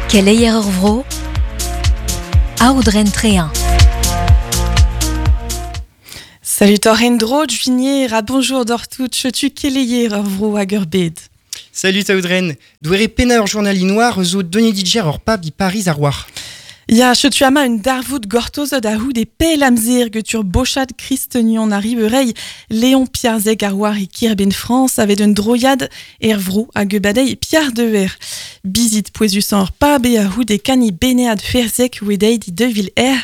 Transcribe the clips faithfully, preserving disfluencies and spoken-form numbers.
Keleier ur vro, Aodren Trein. Salut tor endro, juinier a bonjour d'or tout, chetu keleier ur vro hag ur bed. Salut Aodren, douere pena ur journali noir zo Denis Diger ur pab di Paris ar war. Ya, chetu ama un darvoud gortozod a houd e pel amzer getur bochad Christenion arrive Léon Piarzek ar war e kirben France avet un droiad er vro hag badei Pierre de Ver. Bizit poezus ur pab e a houd e kani benead ferzek wedei di devil er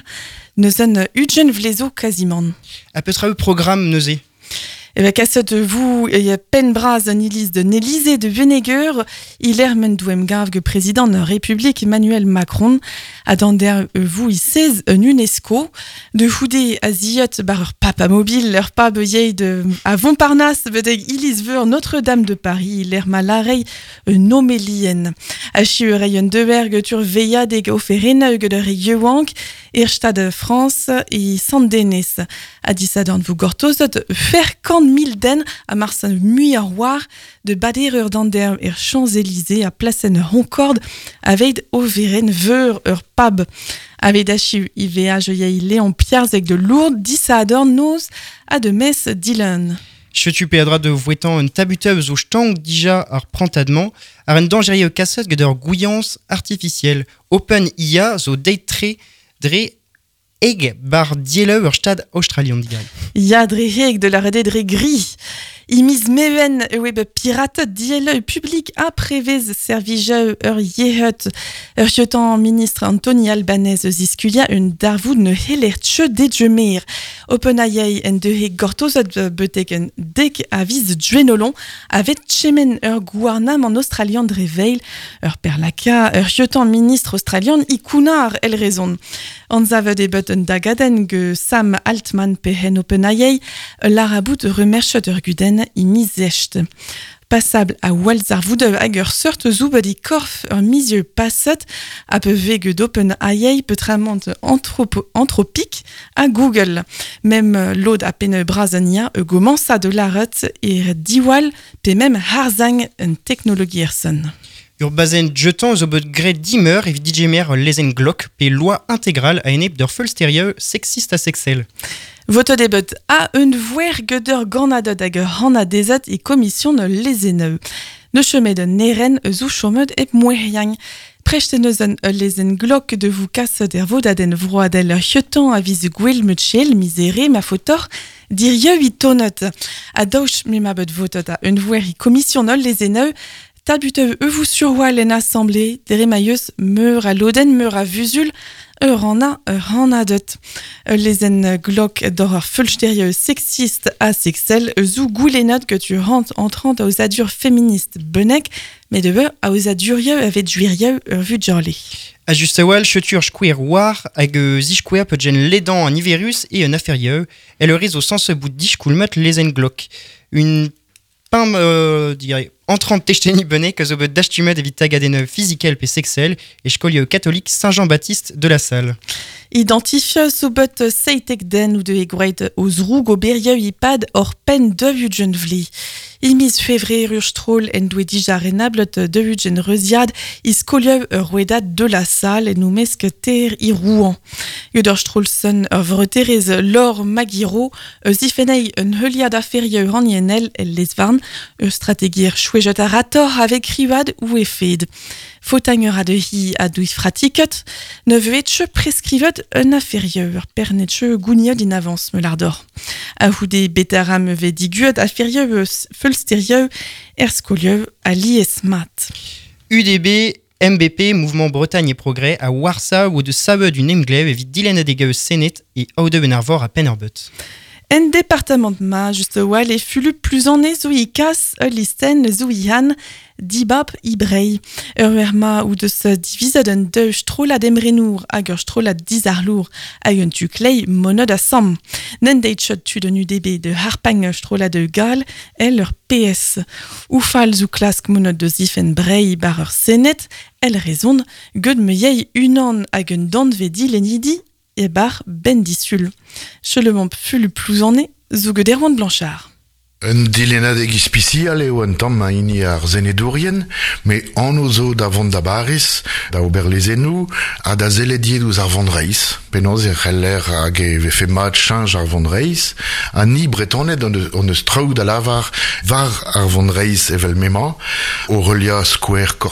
neuzen ugen vlezo quasiment. A petra eu programme neuze? E ben kaset vous e pen braz an iliz de Nelysée de Veneger, il ermen douem gav ge président de République Emmanuel Macron, a der vous i seize un UNESCO, de houde a ziot bar ur papa mobile, ur pab yei de a Montparnasse bedeg iliz veur Notre-Dame de Paris, il er malarei un homélien. A chiur un deberg tur veilladeg oferenneug de re youank, er stad France e Sant-Denis. A disadorn vous gortozot fer kant mil den a marsan mui ar war de bader ur dander er Champs-Élysées a placen Concorde aveid overen veur ur pab. Aveid achiu I V A yei Léon Piarzek de Lourdes disadorn noz a de mes Dylan. Chetu pe a droit de vouetan un tabuteuse zo stang dija ar prantadement ar un dangerie kasset gant ur gouillance artificielle. Open I A zo deit tre dre eg bar dieleu ur stad australian digal. Ya dre heg de la rede dre gris. Imiz meven web pirate dieleu public a prevez servijeu ur yehut. Ur jotan ministre Anthony Albanese ziskulia un darvoud ne heler tche dedjemer. OpenAI en de heg gortozot betek un dek aviz djuenolon avet tchemen ur gouarnam en australian dre veil ur perlaka ur jotan ministre australian ikunar el rezon. Anzavet e bet un dagaden ge Sam Altman pehen OpenAI larabout remerchet ur guden imizest. Passable a walzar voudeu hag ur seurt zoubet i korf ur mizieu passet a pe vege d'OpenAI petramant anthropo, anthropique a Google. Mem lod a pene brazania e gomansa de laret er diwal pe mem harzang un teknologiersen. Ur bazen jetan zo bet gret dimeur evit D J mer lezen glok pe loi intégrale a enep d'ur feulsterieu sexiste a sexel. Voto debut a un vouer geder ganadot hag ur hana dezat e komision lezeneu. Ne chemet de neren zou chomet ep moueriang. Prechte neuzen ul lezen glok de vous kasset er vodaden vroadel ur hiotan a viz gwell mutchel misere ma fotor dirieu i tonot. A daouch me ma bet votot a un vouer i komision ul lezeneu tabuteu e vous surwal en assemblée, deremaieus meur a loden, meur a vuzul, ur an a ur an a deut. Lezen glok d'horreur feulsterieux sexiste a sexel, zou goulenot que tu rent entrant aux adures féministes benek, mais de beu a aux adurieux avec juirieux ur vu jorlé. A juste awal, chetur chkouer war hag zichkouer peut gen ledan an iverus et un afférieux, et le réseau sans ce bout dishkoulmet lezen glok. Une pain, euh, dirais, entrant techteni benek zo bet dastumet evit tagaden physical pe sexel e skolio catholique Saint-Jean-Baptiste de la Salle. Identifie so bet seitek den ou de egweit oz roug o berieu ipad or pen de vugen vli. Imiz fevre ur stroll en doe dija renablet de vugen reuziad is skolio ur rouedad de la Salle en oumesk ter i Rouen. Gud ur strollsen ur vreterez Laure Magiro eus ifenei un heuliad aferieu hanienel el lesvarn ur strategier chouejet a rator avec rivad ou efed. Fautagner a de hi a douy fratiket, ne veetche prescrivet un afferieur, pernetche gouniod in avance me lardor. A houde betaram ve diguet afferieur feulsterieur er skolieu a lies mat. U D B, M B P, Mouvement Bretagne et Progrès, à Warsaw ou de Sabe du Nemglev evit Dylan Adegeu Senet et Aude Benarvor à Pennerbut. En département de ma, juste wal e fulu plus en zo i kas ul listen zo i han dibab i brei. Ur erma ou de se divizet un deux strola d'emrenour hag ur strola dizarlour hag un tu klei monod a sam. Nen deit chot tu de U D B de harpang strola de gal el ur P S. Ou fal zo klask monod de zifen brei bar ur senet, el rezon, gud me yei unan hag un danve di lenidi e bar ben disul. Chelemont fulu plouzane, zo ged Erwan Blanchard. Un dilennadeg ispisial eo un tamm a hini ar senedourien, met anv zo da vont da Bariz, da ober lezennoù, ha da sellet ouzh ar vonreizh. Penaos e c'heller hag e vefe mat cheñch ar vonreizh, ha ni Bretoned hon eus, hon eus traoù da lavar war ar vonreizh evel m'emañ, o reliañ skouer